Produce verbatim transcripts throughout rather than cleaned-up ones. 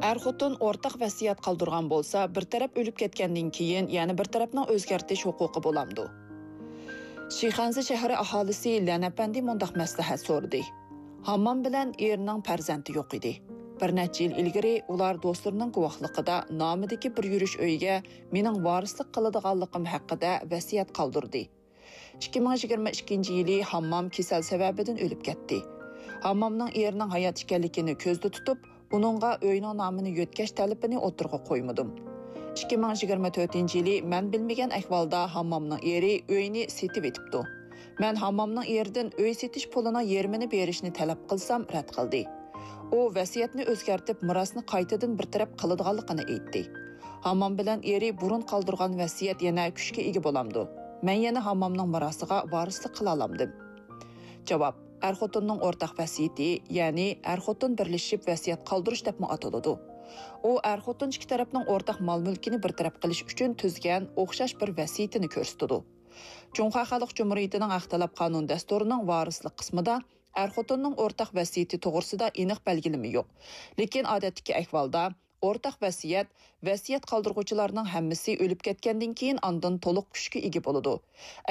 ئەر-خوتۇن ئورتاق ۋەسىيەت قالدۇرغان بولسا، بىر تەرەپ ئۆلۈپ كەتكەندىن كېيىن يەنە بىر تەرەپنىڭ ئۆزگەرتىش ھوقۇقى بولامدۇ؟ شىخەنزە شەھىرى ئاھالىسى لەن ئەپەندى مۇنداق مەسلىھەت سورىدى: ھاممام بىلەن ئېرىنىڭ پەرزەنتى يوق ئىدى. بىر نەچچە يىل ئىلگىرى ئۇلار دوستلىرىنىڭ گۇۋاھلىقىدا نامىدىكى بىر يۈرۈش ئۆيگە مېنىڭ ۋارىسلىق قىلىدىغانلىقىم ھەققىدە ۋەسىيەت قالدۇردى. ئىككى مىڭ يىگىرمە ئىككىنچى يىلى ھاممام كېسەل سەۋەبىدىن ئۆلۈپ كەتتى. ھاممامنىڭ ئېرىنىڭ ھايات ئىكەنلىكىنى كۆزدە تۇتۇپ، ئۇنىڭغا ئۆينىڭ نامىنى يۆتكەش تەلىپىنى ئوتتۇرىغا قويمىدىم. ئىككى مىڭ يىگىرمە تۆتىنچى يىلى مەن بىلمىگەن ئەھۋالدا ھاممامنىڭ ئېرى ئۆينى سېتىۋېتىپتۇ. مەن ھاممامنىڭ ئېرىدىن ئۆي سېتىش پۇلىنىڭ يېرىمىنى بېرىشنى تەلەپ قىلسام، رەت قىلدى. ئۇ ۋەسىيەتنى ئۆزگەرتىپ، مىراسنى قايتىدىن بىر تەرەپ قىلىدىغانلىقىنى ئېيتتى. ھاممام بىلەن ئېرى بۇرۇن قالدۇرغان ۋەسىيەت يەنە كۈچكە ئىگە بولامدۇ؟ مەن يەنە ھاممامنىڭ مىراسىغا ۋارىسلىق قىلالامدىم؟ جاۋاب: ئەر-خوتۇننىڭ ئورتاق ۋەسىيىتى، يەنى ئەر-خوتۇن بىرلىشىپ ۋەسىيەت قالدۇرۇش دەپمۇ ئاتىلىدۇ. ئۇ ئەر-خوتۇن ئىككى تەرەپنىڭ ئورتاق مال-مۈلكىنى بىر تەرەپ قىلىش ئۈچۈن تۈزگەن ئوخشاش بىر ۋەسىيىتىنى كۆرسىتىدۇ. جۇڭخۇا خەلق جۇمھۇرىيىتىنىڭ ھەق تەلەپ قانۇن دەستۇرىنىڭ ۋارىسلىق قىسمىدا ئەر-خوتۇننىڭ ئورتاق ۋەسىيىتى توغرىسىدا ئېنىق بەلگىلىمە يوق. لېكىن ئادەتتىكى ئەھۋالدا ئورتاق ۋەسىيەت، ۋەسىيەت قالدۇرغۇچىلارنىڭ ھەممىسى ئۆلۈپ كەتكەندىن كېيىن ئاندىن تولۇق كۈچكە ئىگە بولىدۇ.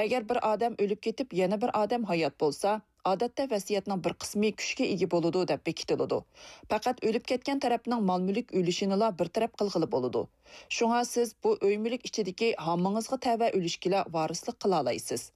ئەگەر بىر ئادەم ئۆلۈپ كېتىپ، يەنە بىر ئادەم ھايات بولسا، ئادەتتە ۋەسىيەتنىڭ بىر قىسمى كۈچكە ئىگە بولىدۇ دەپ بېكىتىلىدۇ. پەقەت ئۆلۈپ كەتكەن تەرەپنىڭ مال-مۈلۈك ئۈلۈشىنىلا بىر تەرەپ قىلغىلى بولىدۇ. شۇڭا سىز بۇ ئۆي-مۈلۈك ئىچىدىكى ھاممىڭىزغا تەۋە ئۈلۈشكىلا ۋارىسلىق قىلالايسىز.